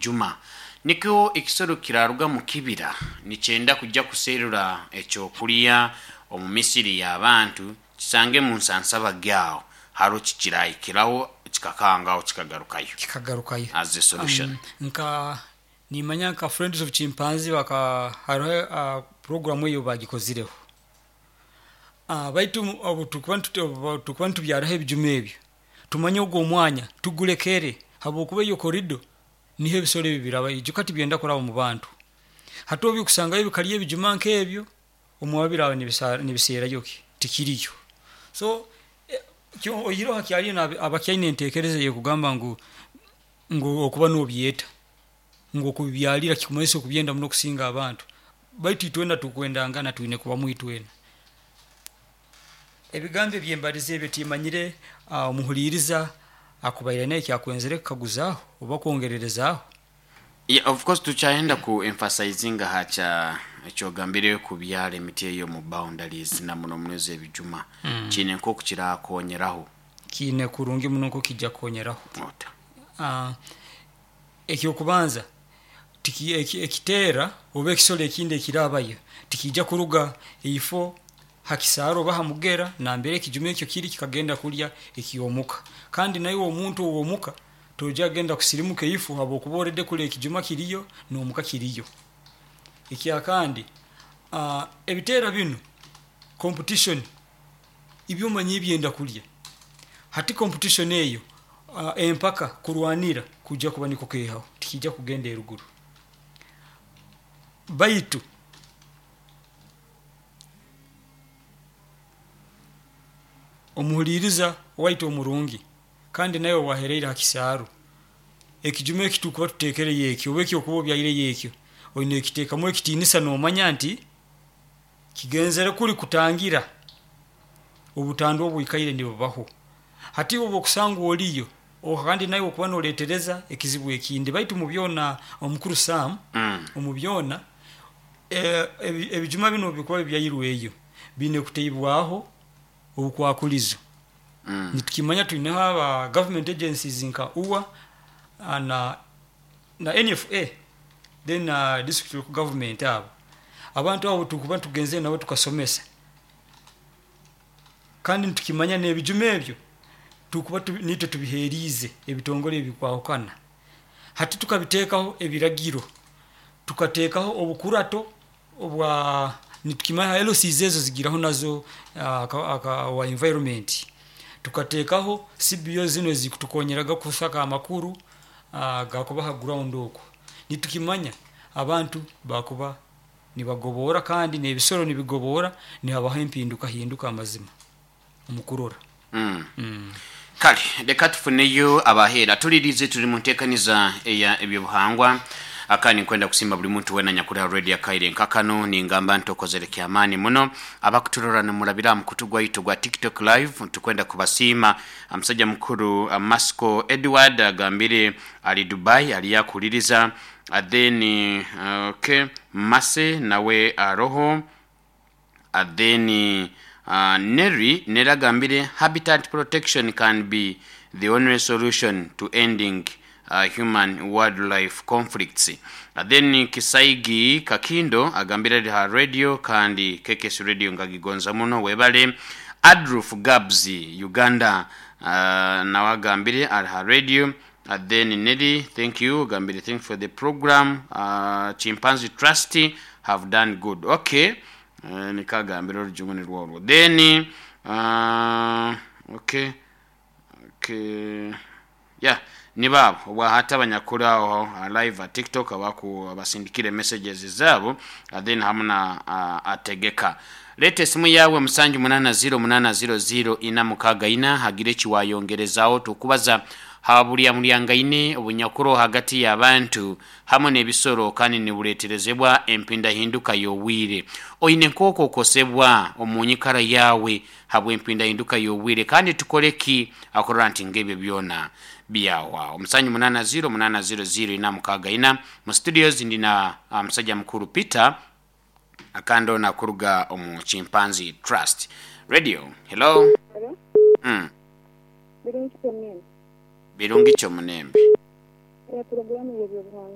ebijuma. Nikyo ekisoro kiraruga mu kibira nikyenda kujya kuserura ekyokulya omu misiri y'abantu, kisange mu nsansabage aho haro kikirahikiraho kikakangaho kikagarukayo. Kikagarukayo. As a solution. Nka nimanya nka Friends of Chimpanzee baka hariho program eyo bagikozireho. Baitu obu tukuba obu tukuba nitubyaraho ebijuma ebyo, tumanye ogu omwanya tugulekere, habwokuba eyo corridor niho ebisoro ebi biraba. Ijuka tibyenda kuraba mu bantu. Hati obu bikusangayo bikarya ebijuma nk'ebyo, omwabo biraba nibiseerayo ki? Tikiriyo. So oihireho hakyariyo abakyaine entekereza eyekugamba ngu okuba nobyeta, ngu okubibyarira kikumanyisa okubyenda muno kusinga abantu. Baitu itwena tukwendangana twine kubamu itwena. Ebigambo ebyembalize ebyo timanyire omuhuliiriza akubaire aine eki akwenzere kukaguzaaho oba kwongererezaaho. Yeah, of course tukyayenda ku emphasizinga ha kya ekyogambire kubyara emiti eyo mu boundaries na muno muno ez'ebijuma. Kiine nk'oku kirakonyeraho. Kiine kurungi muno nk'oku kijja kukonyeraho. Ota? Ekyokubanza, ekiteera oba ekisoro ekindi ekirabayo tikiija kuruga ifo ha kisaaro oba ha mugera nambere ekijuma ekyo kiri kikagenda kulya ekyomuka. Kandi naiwe omuntu ow'omuka toija kugenda kusirimuka ifo habwokuba already kuli ekijuma kiriyo n'omuka kiriyo. Ekyakandi, ebiteera binu competition, ibyo omanyire byenda kulya. Hati competition eyo, empaka kurwanira kwiija kuba nikukeehaho, tikiija kugenda eruguru. Baitu omuhuliiriza waitu omurungi, kandi naiwe owaheriire ha kisaaru, ekijuma eki tukuba tuteekereyo eki oba eki okuba obyaireyo ekyo, oine kukiteekamu ekitiinisa nomanya nti kigenzere kuri kutangira obutandwa obwikaire nibubaho. Hati iwe obu okusangwa oriyo, kandi naiwe okuba noreetereza ekizibu ekindi. Baitu mu byona, omukuru Sam, omu byona, ebijuma binu obu bikuba bibyairweyo, biine kuteibwaho obukwakulizo. Nitukimanya twineho aba government agencies nka UWA na NFA then na district local government abo. Abantu abo obutukuba tugenzere nabo tukasomesa, kandi nitukimanya n'ebijuma ebyo tukuba niitwe tubiheriize ebitongore ebikwahukana. Hati tukabiteekaho ebiragiro, tukateekaho obukurato obwa nitukimanya LCs ezo zigiraho nazo wa environment. Tukateekaho CBO zinu ezikutukonyeraga kusaka amakuru agakuba ha ground oku. Nitukimanya abantu bakuba nibagoboora kandi n'ebisoro nibigoboora, nihabaho empinduka hinduka amazima omu kurora. Kale leka tufuneyo abaheera tulirize tuli mu nteekaniza eya ebyobuhangwa. Kandi nkwenda kusiima buli muntu weena anyakuri ha radio akaire nka kanu. Ningamba nti okozere kyamaani muno. Abakuturora nimurabira aha mukutu gwaitu ogwa TikTok live, tukwenda kubasiima. Omusajja mukuru Masiko Edward agambire ali Dubai aliyo akuhuliriza. Then okay, Mercy nawe aroho. Then Nelly, Nelly agambire habitat protection can be the only solution to ending human wildlife conflicts. Then Kisaigi Kakindo agambire ari ha radio kandi KKS radio ngagigonza muno webale. Adruf Gabs Uganda nawe agambire ari ha radio. Then Nelly thank you agambire thanks for the program Chimpanzee Trust have done good. Okay niko agambire orujungu nirwo orwo. Then okay okay yeah nibo abo obwahati abanyakuri aho live ha TikTok abaku abasindikire messages zaabo then hamu na Ategeka. Leeta esimu yaawe musanju munaana ziro munaana ziro ziro ina mukaaga ina hagire eki waayongerezaaho. Tukubaza ha buryamuryangaine obunyakuri hagati y'abantu hamu n'ebisoro kandi nibureeterezebwa empindahinduka y'obwire. Oine nk'oku okosebwa omu nyikara yaawe habw'empindahinduka y'obwire kandi tukole ki akurora nti ng'ebyo byona byahwaho. Musanju munaana ziro munaana ziro ziro ina mukaaga ina. Mu studios ndi na musaija mukuru Peter akandi ono akuruga omu Chimpanzee Trust. Radio, hello. Hello. Birungi kyomunembe. Birungi kyomunembe. Eya puroguramu y'ebyobuhangwa.